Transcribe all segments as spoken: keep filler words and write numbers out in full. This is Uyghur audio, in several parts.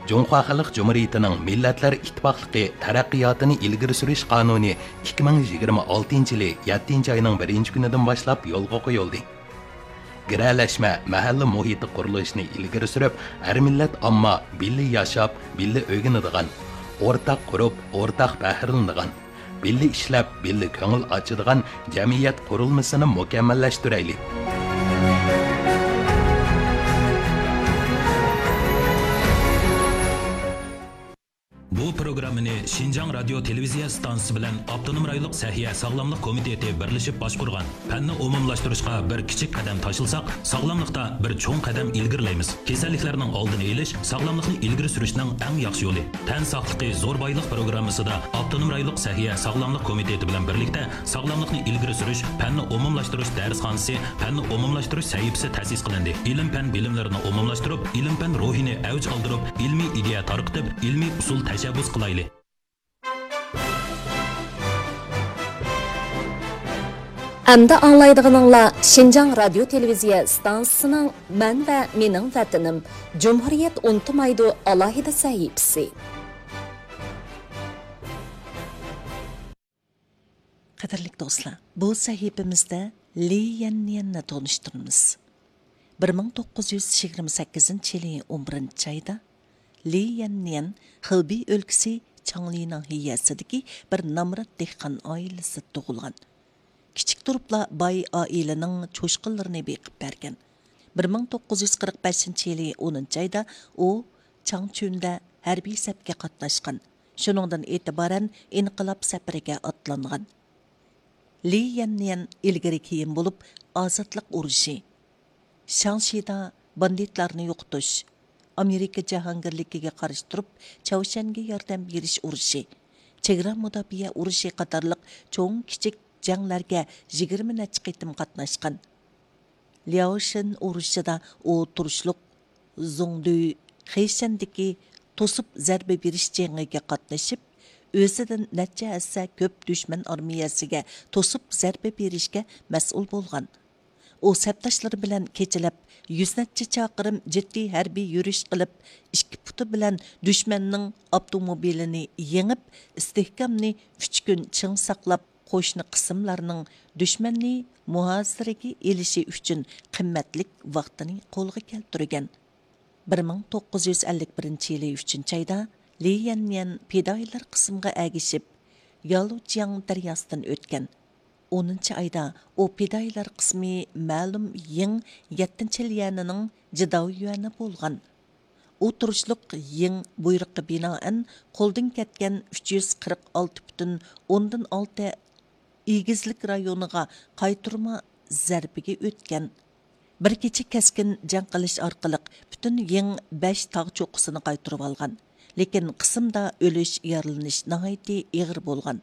جۇڭخۇا خەلق جۇمھۇرىيىتىنىڭ مىللەتلەر ئىتتىپاقلىقى تەرەققىياتىنى ئىلگىرى سۈرۈش قانۇنى ئىككى مىڭ يىگىرمە ئالتىنچى يىلى يەتتىنچى ئاينىڭ بىرىنچى كۈنىدىن باشلاپ يولغا قويۇلدى. گىرەلەشمە مەھەللە مۇھىتى قۇرۇلۇشىنى ئىلگىرى سۈرۈپ، ھەر مىللەت ئامما بىللە ياشاپ، بىللە ئۆگىنىدىغان، ئورتاق قۇرۇپ، ئورتاق پەخىرلىنىدىغان، بىللە ئىشلەپ، بىللە كۆڭۈل ئاچىدىغان جەمئىيەت قۇرۇلمىسىنى مۇكەممەللەشتۈرەيلى. بۇ پروگراممىنى شىنجاڭ رادىيو تېلېۋىزىيە ئىستانسىسى بىلەن ئاپتونوم رايونلۇق سەھىيە ساغلاملىق كومىتېتى بىرلىشىپ باشقۇرغان. پەننى ئومۇملاشتۇرۇشقا بىر كىچىك قەدەم تاشلىساق، ساغلاملىقتا بىر چوڭ قەدەم ئىلگىرىلەيمىز. كېسەللىكلەرنىڭ ئالدىنى ئېلىش ساغلاملىقنى ئىلگىرى سۈرۈشنىڭ ئەڭ ياخشى يولى. تەن ساقلىقى زور بايلىق پروگراممىسىدا ئاپتونوم رايونلۇق سەھىيە ساغلاملىق كومىتېتى بىلەن بىرلىكتە ساغلاملىقنى ئىلگىرى سۈرۈش پەننى ئومۇملاشتۇرۇش دەرسخانىسى، پەننى ئومۇملاشتۇرۇش سەھىپىسى تەسىس قىلىندى. ئىلىم-پەن بىلىملىرىنى ئومۇملاشتۇرۇپ، ئىلىم-پەن روھىنى ئەۋج ئالدۇرۇپ، ئىلمىي ئىدىيە تارقىتىپ، ئىلمىي ئۇسۇل تەشەببۇس قىلايلى. ئەمدى ئاڭلايدىغىنىڭلار شىنجاڭ رادىيو تېلېۋىزىيە ئىستانسىسىنىڭ مەن ۋە مېنىڭ ۋەتىنىم، جۇمھۇرىيەت ئۇنتۇمايدۇ ئالاھىدە سەھىپىسى. قەدىرلىك دوستلار، بۇ سەھىپىمىزدە لى يەننيەننى تونۇشتۇرىمىز. بىر مىڭ توققۇز يۈز يىگىرمە سەككىزىنچى يىلى ئون بىرىنچى ئايدا لى يەننيەن خېبېي ئۆلكىسى چاڭلى ناھىيەسىدىكى بىر نامرات دېھقان ئائىلىسىدە تۇغۇلغان. كىچىك تۇرۇپلا باي ئائىلىنىڭ چوشقىلىرىنى بېقىپ بەرگەن. بىر مىڭ توققۇز يۈز قىرىق بەشىنچى يىلى ئونىنچى ئايدا ئۇ چاڭچۈندە ھەربىي سەپكە قاتناشقان. شۇنىڭدىن ئېتىبارەن ئىنقىلاب سەپىرىگە ئاتلانغان. لى يەننيەن ئىلگىرى كېيىن بولۇپ ئازادلىق ئۇرۇشى، شاڭشىدا باندىتلارنى يوقىتىش، ئامېرىكا جاھانگىرلىكىگە قارشى تۇرۇپ، چاۋشيەنگە ياردەم بېرىش ئۇرۇشى، چېگرا مۇداپىئە ئۇرۇشى قاتارلىق چوڭ كىچىك جەڭلەرگە يىگىرمە نەچچە قېتىم قاتناشقان. لياۋشىن ئۇرۇشىدا ئۇ تۇرۇشلۇق زۇڭدۈي خېشەندىكى توسۇپ زەربە بېرىش جېڭىگە قاتنىشىپ، ئۆزىدىن نەچچە ھەسسە كۆپ دۈشمەن ئارمىيەسىگە توسۇپ زەربە بېرىشكە مەسئۇل بولغان. ئۇ سەپداشلىرى بىلەن كېچىلەپ يۈز نەچچە چاقىرىم جىددىي ھەربىي يۈرۈش قىلىپ، ئىككى پۇتى بىلەن دۈشمەننىڭ ئاپتوموبىلىنى يېڭىپ، ئىستىھكامنى ئۈچ كۈن چىڭ ساقلاپ، قوشنا قىسىملارنىڭ دۈشمەننى مۇھاسىرىگە ئېلىشى ئۈچۈن قىممەتلىك ۋاقتىنى قولغا كەلتۈرگەن. بىر مىڭ توققۇز يۈز ئەللىك بىرىنچى يىلى ئۈچىنچى ئايدا لى يەننيەن پىدائىيلار قىسمىغا ئەگىشىپ، يالۇجياڭ دەرياسىدىن ئۆتكەن. ئونىنچى ئايدا ئۇ پىدائىيلار قىسمى مەلۇم يىڭ يەتتىنچى ليەنىنىڭ جىداۋيۈەنى بولغان. ئۇ تۇرۇشلۇق يىڭ بۇيرۇققا بىنائەن قولدىن كەتكەن ئۈچ يۈز قىرىق ئالتە پۈتۈن ئوندىن ئالتە ئېگىزلىك رايونىغا قايتۇرما زەربىگە ئۆتكەن. بىر كېچە كەسكىن جەڭ قىلىش ئارقىلىق پۈتۈن يىڭ بەش تاغ چوققىسىنى قايتۇرۇۋالغان. لېكىن قىسىمدا ئۆلۈش، يارىلىنىش ناھايىتى ئېغىر بولغان.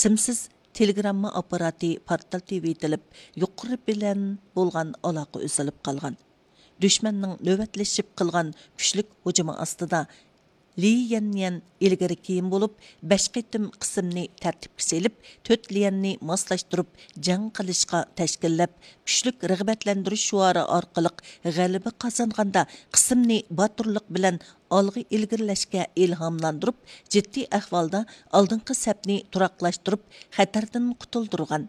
سىمسىز تېلېگرامما ئاپپاراتى پارتلىتىۋېتىلىپ، يۇقىرى بىلەن بولغان ئالاقە ئۈزۈلۈپ قالغان. دۈشمەننىڭ نۆۋەتلىشىپ قىلغان كۈچلۈك ھۇجۇمى ئاستىدا، لى يەننيەن ئىلگىرى كېيىن بولۇپ، بەش قېتىم قىسىمنى تەرتىپكە سېلىپ، تۆت ليەننى ماسلاشتۇرۇپ جەڭ قىلىشقا تەشكىللەپ، كۈچلۈك رىغبەتلەندۈرۈش شوئارى ئارقىلىق غەلىبە قازانغاندا، قىسىمنى باتۇرلۇق بىلەن ئالغا ئىلگىرىلەشكە ئىلھاملاندۇرۇپ، جىددىي ئەھۋالدا ئالدىنقى سەپنى تۇراقلاشتۇرۇپ، خەتەردىن قۇتۇلدۇرغان.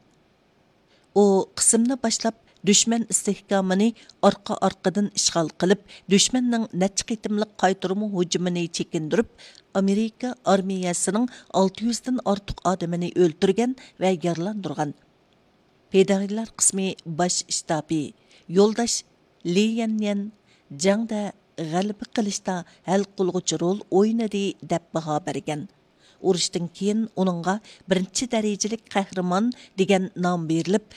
ئۇ قىسىمنى باشلاپ، دۈشمەن ئىستىھكامىنى ئارقا-ئارقىدىن ئىشغال قىلىپ، دۈشمەننىڭ نەچچە قېتىملىق قايتۇرما ھۇجۇمىنى چېكىندۈرۈپ، ئامېرىكا ئارمىيەسىنىڭ ئالتە يۈزدىن ئارتۇق ئادىمىنى ئۆلتۈرگەن ۋە يارىلاندۇرغان. پىدائىيلار قىسمى باش شتابى يولداش لى يەنيەن جەڭدە غەلىبە قىلىشتا ھەل قىلغۇچ رول ئوينىدى، دەپ باھا بەرگەن. ئۇرۇشتىن كېيىن ئۇنىڭغا بىرىنچى دەرىجىلىك قەھرىمان دېگەن نام بېرىلىپ،